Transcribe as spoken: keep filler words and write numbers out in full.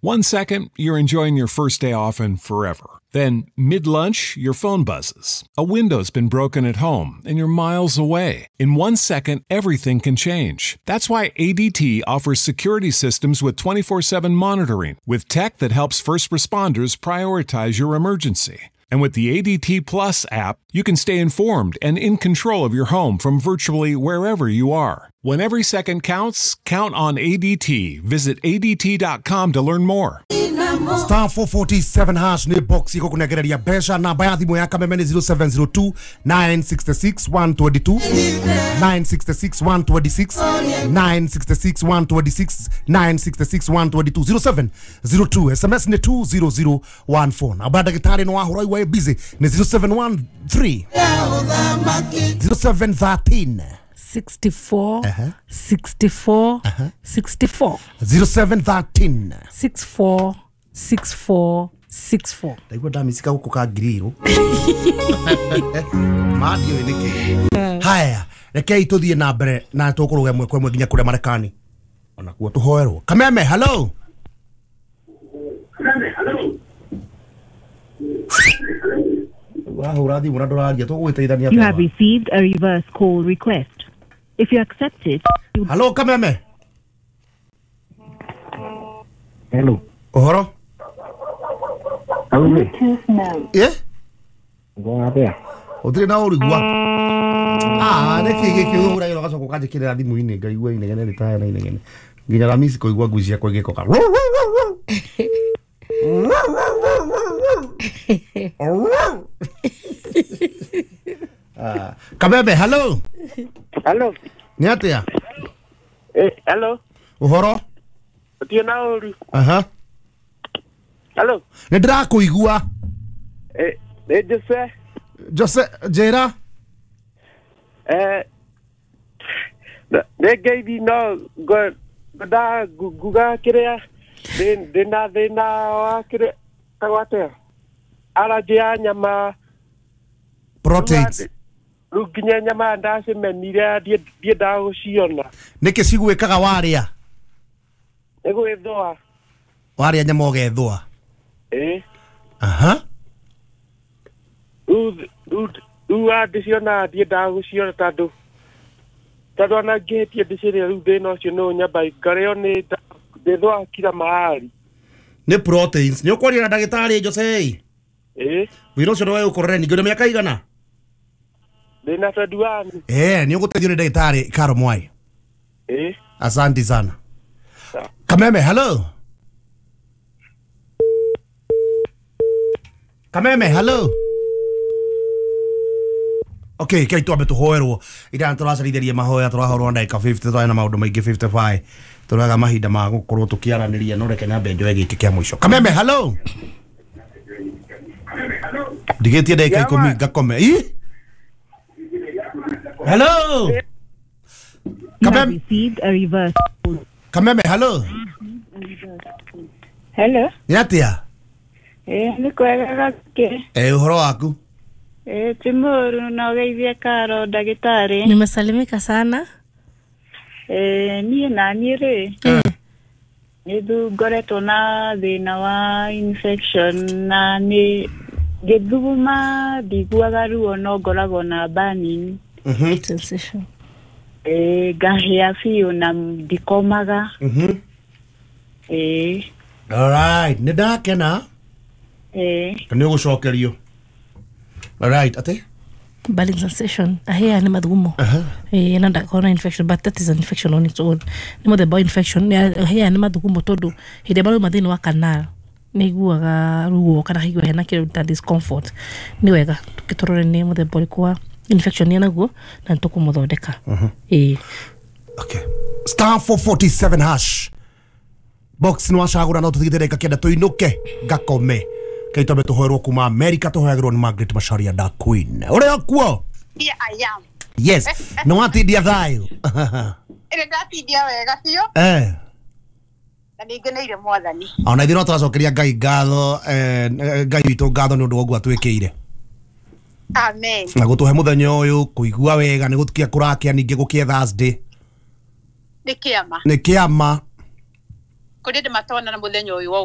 One second, you're enjoying your first day off and forever. Then, mid-lunch, your phone buzzes. A window's been broken at home, and you're miles away. In one second, everything can change. That's why A D T offers security systems with twenty-four seven monitoring, with tech that helps first responders prioritize your emergency. And with the A D T Plus app, you can stay informed and in control of your home from virtually wherever you are. When every second counts, count on A D T. Visit A D T dot com to learn more. Star four forty-seven hash ni box iko kunegereria mbeca. Namba ya thimu ya Kameme ni zero seven zero two nine six six one two two nine six six one two six nine six six one two six nine six six one two two zero seven zero two. S M S ni two zero zero one four. Namba ya ndagĩtarĩ no wahũra igua busy ni zero seven one three zero seven thirteen sixty-four uh-huh. sixty-four uh-huh. sixty-four zero seven thirteen six four six four six four. Ndaigua ndamicika gũkũ ka ngiriro mandio nĩkĩ. Haya, rekei tũthiĩ na mbere na tũkũrũga ĩmwe kwa ĩmwe nginya kũrĩa Marekani onakuo tũhoerwo. Kameme, hello. Wahũra thimũ na ndũraria tũgũgĩteithania. You have received a reverse call request. If you accept it, you... Hello, Kameme. Hello. Ũhoro? Hello. Yeah? Ngwa Ũtirĩ na ũrigua. Ah, nĩkĩ gĩkĩ ũhũragĩra ũgacoka ũkanjĩkĩrĩra thimũ-inĩ ngaigua inegene rĩtaya na inegene. Nginya Ramisi kũigua ngui ciakwa igĩkoka. Ah, Kameme, hello. Hello. Nĩ atĩa? Eh, hello. Ũhoro? Ũtirĩ na ũru. Aha. Hello. Nĩ ndĩrakũigua. Eh, nĩ Jose. Jose, njĩra. Eh, nĩ ngeithi no ngwendaga nguga kĩrĩa ndĩna thĩna wa kĩrĩa tagwo atĩa? Allergy ya nyama. Proteins. Rĩu nginya nyama ndacimenire ndiendaga gũciona. Nĩkĩ cigwĩkaga warĩa? Nĩ gwĩthũa. Warĩa nyama ũgethũa? Ĩĩ. Aha. Rĩu rĩu ndĩciona ndiendaga gũciona tondũ tondũ ona ngĩhĩtie ndĩcirĩe rĩu thĩna ũcio nĩ ũnyamba ngarĩo nĩ ndĩthũaga kila mahali. Nĩ proteins. Nĩ ũkwaria na ndagĩtarĩ Jose? Ĩĩ. Wĩra ũcio nĩ ũkorere ningĩ ũrĩ mĩaka igana? Ndĩna twenty-one. Eh, nĩ ũgũteithio nĩ ndagĩtarĩ Karo Mwai. Ĩĩ. Asante sana. Kameme, hello. Kameme, hello. Okay, kei twambe tũhoerwo ira tũracarithĩria mahoya tũrahorwo ndagĩka fifty twarĩ na maũndũ maingĩ fifty-five tũraga mahinda ma gũkorwo tũkĩaranĩria no reke nyambe njoe gĩkĩ kĩa mũico. Kameme, hello. Ndigĩtie ndagĩka ikũmi ngakome. Ĩ? Hello. Kameme received a reverse. Kameme, hello. Hello. Nĩ atĩa? Eh, nĩ kwega gake. Eh, ũhoro waku? Eh, timuru na ũgeithie Karo ndagĩtarĩ. Nimesalimika sana. Eh, niĩ na niĩ rĩ. Nĩ ngoretwo na thĩna wa infection na nĩ ngĩthuguma ndiguaga ruo no ngoragwo na burning. Mhm. Sensation. Eh, ngahĩa biũ na ndikomaga. Mhm. Eh. All right, nĩ ndakena. Eh. Nĩ ũgũcokerio. All right, ate? Burning sensation. Ahia ni mathugumo. Uh-huh. Eh, na ndakona infection, but that is an infection on its own. Ni mũthemba wa infection. Ahia ni mathugumo tondu hĩndĩ marauma thĩinĩ wa canal nĩ iguaga ruo kana haigua hena kĩndũ ta discomfort. Nĩ wega tũkĩtũrore nĩ mũthemba ũrĩkũ wa infection ĩ naguo na nĩtũkũmũthondeka. Uh-huh. Eh. Okay. Star four forty-seven hash. Box nĩ wacagũra no tũthigĩte ndagĩka kenda tũinũke ngakome. Kaitome tũhoerwo kuma America tũhoyagĩrwo nĩ Margaret Macharia da Queen. Ũrĩa kuo? Here I am. Yes. Nĩ watindia thayũ? Ĩrĩ ndatindia wega biũ. Eh. Na nĩ ngeneire mwathani. Ona ithuĩ no tũracokeria Ngai ngatho, eh, Ngai witũ ngatho nĩ ũndũ wa ũguo atwĩkĩire. Amen. Na gũtũhe mũthenya ũyũ kũigua wega nĩ gũtukia kũrakia ningĩ gũkĩe Thursday. Nĩ kĩama. Nĩ kĩama. Kũrĩ ndĩ matona na mũthenya ũyũ wa.